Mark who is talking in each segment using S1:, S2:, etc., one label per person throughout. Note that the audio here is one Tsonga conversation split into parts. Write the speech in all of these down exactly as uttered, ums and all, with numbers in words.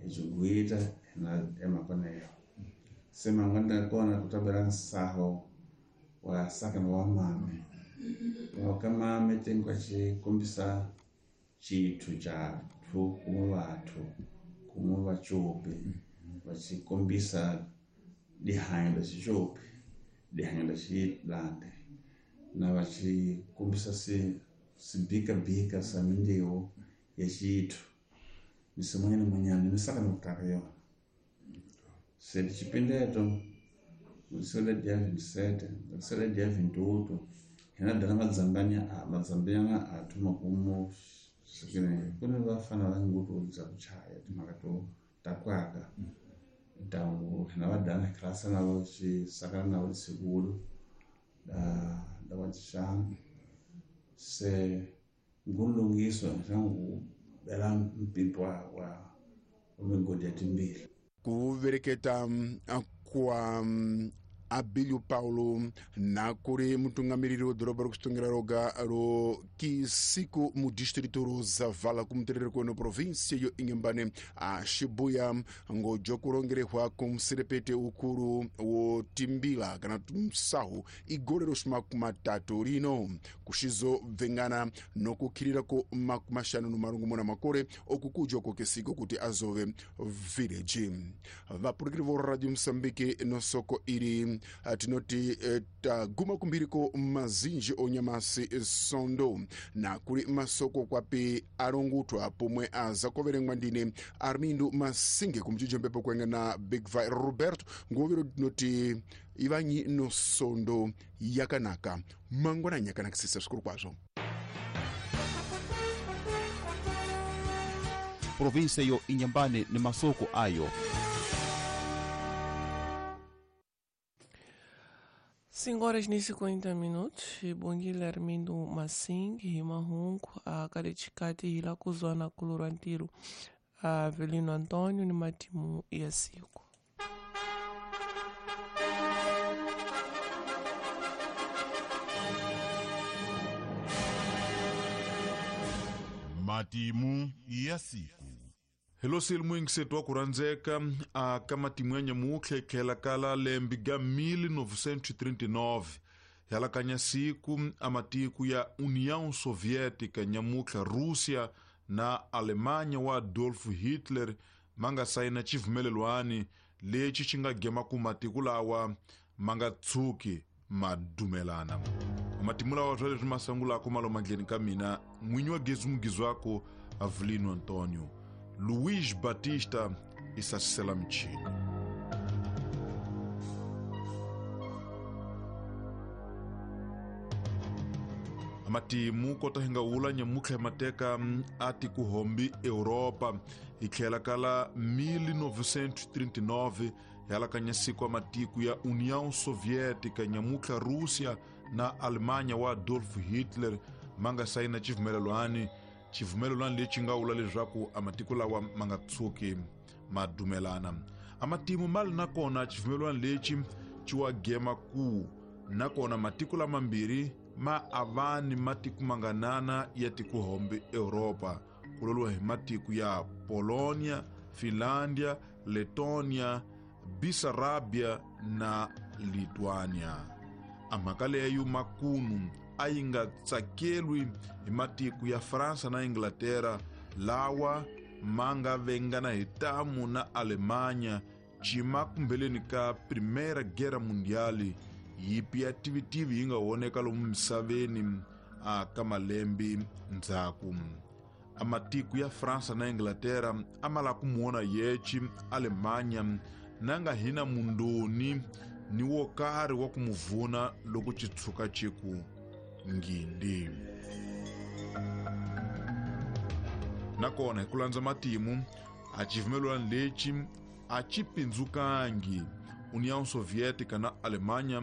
S1: hi xigwita na emakoneyo se mangwana kona ku tabela nsaho wa sakana wa mame wa ka mame tengwa xi kombisa xithu xa thu kumwe vathu kumwe vacopi va xi kombisa lihanyo la xicopi lihanyo la xilande na va xi kombisa si sibikabika sa mindiwo ya xithu ni sin'wanyana n'wanyana ni saka ni ku taka yona se xipindeto sele dia vinte e sete sele dia vinte e oito hina dana madzambanya a madzambanyana a thoma kumo sekene ku ni vafana va nguto bya ku chaya timhaka to ta kwaka ntangu hina va dana klasa na vo xi sakana na vo sikulu da da wa xana se ngulungiso ntangu bela mpimpo wa wa migodi ya timbili
S2: ku vereketa kwa Abílio Paulo na kuri mutungamiriri wa doroba rokusitongira roga ro Kisiku mu distrito ro Zavala kumuterere kweno província yo Inhambane a Shibuya ngojo kurongerehwa kumuserepete ukuru wo timbila kana msahu igore ro matatu rino kushizo bvengana nokukhirira ko makumashanu no marongomuna makore okukujwa ko Kisiku kuti azove village. Vapurukiri vo Radio Mozambique no soko iri tinoti taguma kumbiriko mazinji onyamasi sondo na kuli masoko kwapi alongutwa pomwe azakoverengwa ndine Armindo Masinge kumchijo mpepo kwenga na Big Vi Roberto ngovero tinoti ivanyi no sondo yakanaka mangwana nyakanakisisa zvikuru kwazvo.
S3: Província yo Inhambane ni masoko ayo.
S4: cinco horas e cinquenta minutos, bom Armindo Massing, Rima Runco, a Careticate, Hilacuzona, Colorantiro, a Avelino Antônio, Nimatimu e a Cico.
S5: Matimu ya siku.
S6: Hello silmuingisetwa kuranzeka a ka matimu ya nyamutlha ikhela kala lembe ga mil novecentos e trinta e nove yalakanya siku a matiku ya União Soviética nyamutlha Rússia na Alemanha wa Adolf Hitler manga saina chivumelelwani lexi xi nga gema ku matiku lawa manga tshuki madumelana. Matimu lawa swa leswi masangulako malomandleni ka mina n'winyi wa gezi mugizwako Avelino Antônio Luiz Batista isasisela michini. Matimu kota hinga wula nyamutlha mateka ati kuhombi Europa ikhela kala mil novecentos e trinta e nove yalakanya siku matiku ya União Soviética nyamutlha Rússia na Alemanha wa Adolf Hitler manga saina chivumelelwani chivumelelwani lexi nga wula leswaku amatiku lawa ma nga tshuki ma dumelana. Amatimu mali nakona chivumelelwani lexi xi wa gema ku nakona matiku lamambirhi ma avani matiku manganana ya tikuhombe Europa kuloliwa hi matiku ya Polonia, Finlandia, Letonia, Bessarabia na Lithuania. Amhaka leyo makunu a yi nga tsakelwi hi matiku ya Fransa na Inglaterra lawa ma nga vengana hi tamu na Alemanha cima kumbeleni ka Primeira Guerra Mundial yipi ya tivitivi yi nga voneka lomu misaveni a ka malembe ndzhaku. A matiku ya Fransa na Inglaterra a ma lava ku muona yeci Alemanha na nga hina mundoni ni wo karhi wa ku mu vuna loko xi tshuka xi ku ngindi. Nakona hi ku landza matimu a xivumelwano lexi a xi pindzukangi. União Soviética na Alemanha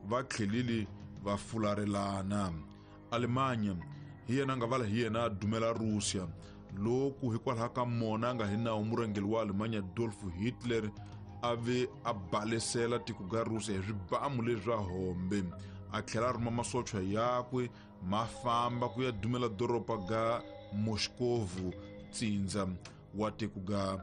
S6: va tlhelile va fularelana. Alemanha hi yena nga vala hi yena a dumela Rússia loku hikwalaho ka mona a nga hi nawu murhangeri wa Alemanha Adolf Hitler a ve a balesela tiko ga Rússia hi swibamu leswa hombe a tlhela a rhuma masocha yakwe ma famba ku ya dumela doroba ga Moscow tsindza wa tiko ga